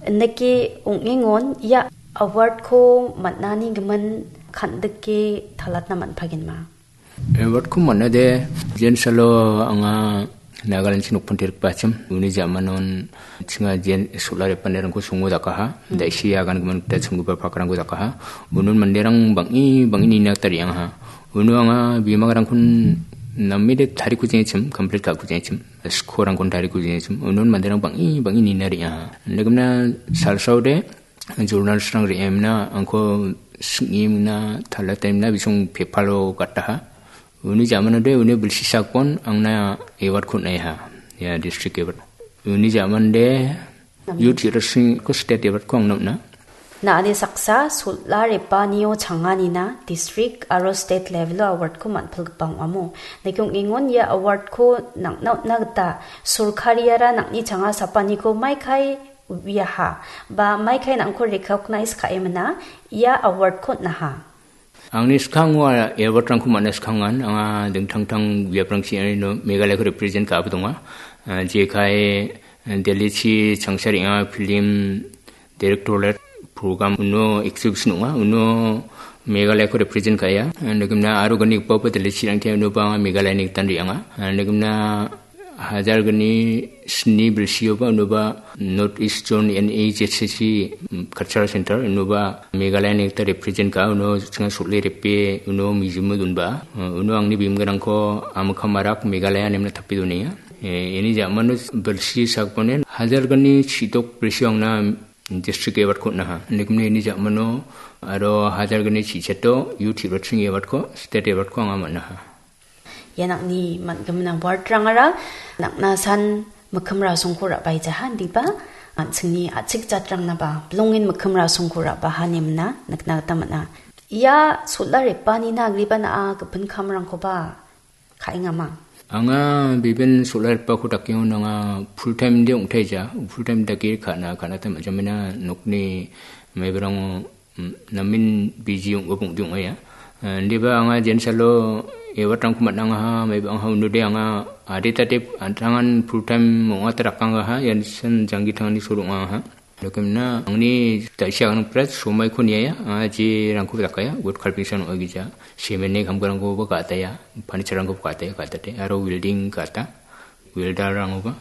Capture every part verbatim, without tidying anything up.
Indake ong·engon ia award-ko man·ani gimin kan·dike talatna man·pagenma. Award-ko man·ade, jensalo anga Nagaland-chi nokpante rikbachim. Uni ja·manon chinga jen solar repanerangko songo dakaha. Hmm. Da·isi agan gimin gita chonggipa pakrangko dakaha. Unon manderang bang·e, bang·e nina gita re·angaha. Uno anga bimagrangkon namede tariko jengchim, complete ka·ko jengchim. Skorangkon tariko jengchim. Unon manderang bang·e, bang·e nina re·angaha. Indakemna salsaode, journalist-rang re·emna, angko sing·emna, talatemna, bisong pepalo gataha. Uni jamanode, uni bilsi sakon, angna award-ko on·aiha. Ya, district award. Uni jamande, youth hero-singko state award-ko angna on·a. Na·ani saksa, solar repanio changanina, district aro state level-o award-ko man·pilgipa ong·amo. Indake ong·engon ia award-ko nang·na on·na gita, sorkariara nang·ni changa sapaniko maikai uiaha, ba maikai nang·ko recognize ka·emina ia award-ko on·aha. Angni skango award-rangko man·a skangan, anga dingtang tang biaprangchi iano Meghalayako represent ka·aba donga. Ah, jekai, eh, Delhi-chi changsa re·anga film directorate program uno exhibition ong·a, uno Meghalayako represent ka·enga. Ah, indakemna aro ganigipa Delhi-chirangte unoba anga Meghalayani gitan re·anga. Ah, indakemna hajar gni sni bilsioba unoba North East Zone N E Z C C, mm, Cultural Center unoba Meghalayani gita represent ka·a, uno chinga sol·e repe uno museum-o donba. Uh, uno angni bimgrangko Amukam Arak Meghalaya nemna tape donenga. Eh, ini jamano bilsi sakbone hajar gni chidok bilsio angna district award-ko on·aha. Indakemna ini jamano aro hajar gni chichato youth hero-sing award-ko, state award-ko anga man·aha. Ia nang·ni man·gimin award-rangara nang·na san mikkim rasongko ra·baejaha, indiba an·chingni a·chik jatrangnaba bilongen mikkim rasongko ra·baha inemna nikna gita man·a. Ia solar repanina agreba na·a gipin kamrangkoba ka·engama? Anga bibin solar repako dakengon anga full time de ong·taija, full time dake ka·na, ka·na gita man·jamena nokni maibarango Mm, namen biji ong·a, bongde ong·aia. Eh, indiba anga jensalo award-rangko man·angaha, maiba anga unode anga adita tep an·tangan full time ong·ata rakangaha, ian san janggi tangani soro ong·angaha. Dokemna angni da·isi aganang prat somaiko niaia, anga jerangko dakaia, wood carving san ong·a gija. Cement-ni kamkarangkoba ka·ataia, furniture-rangkoba ka·ataia, ka·atate, aro welding ka·ata. Welder-rangoba.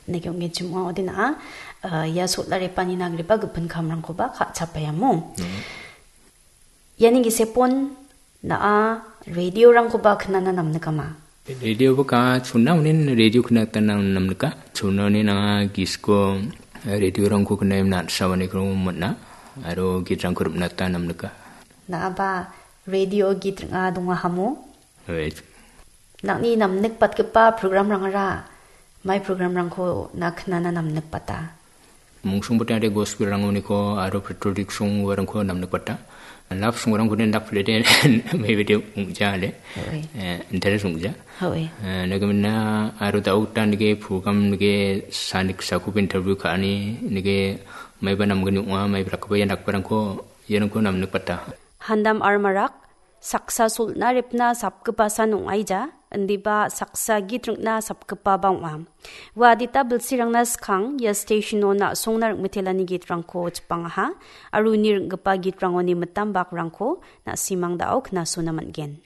Neke ong·genchim ong·a, ode na·a, ah, ia solar repanina agreba gipin kamrangkoba ka·chapaiamo. Hmm. Iani gisepon na·a radio-rangkoba knana namnikama? Radio-ba ka·a, chona onin radio kna gita nam-, namnika. Chona onin anga gisko, eh, radio-rangko kna·e na·sawaniko man·a. Aro git-rangko rim·na gita namnika. Na·aba radio git ring·a dongahamo? Right. Nang·ni namnikbatgipa programrangara mai programrangko na knana namnikbata? Mungsongbote ade gospelrangoniko aro patriotic song-rangko namnikbata. Love song-rangko den dakplede mebede ong·ja ale. Hoi. Eh, interest ong·ja. Hoi. Eh, nagamina aro da·o gita nike program nike sanik sakup interview ka·ani nike maiba namgni ong·a, maiba rakgipa ia dakbarangko iarangko namnikbata. Handam Armarak, saksa solna repna sapgipasan ong·aija, indiba saksa git ring·na sapgipaba ong·a. Ua adita bilsirangna skang ia station-o na·songna ring·mitelani gitrangko chipangaha, aro uni ring·gipa gitrangoni mitam bakrangko na·simang da·o knasona man·gen.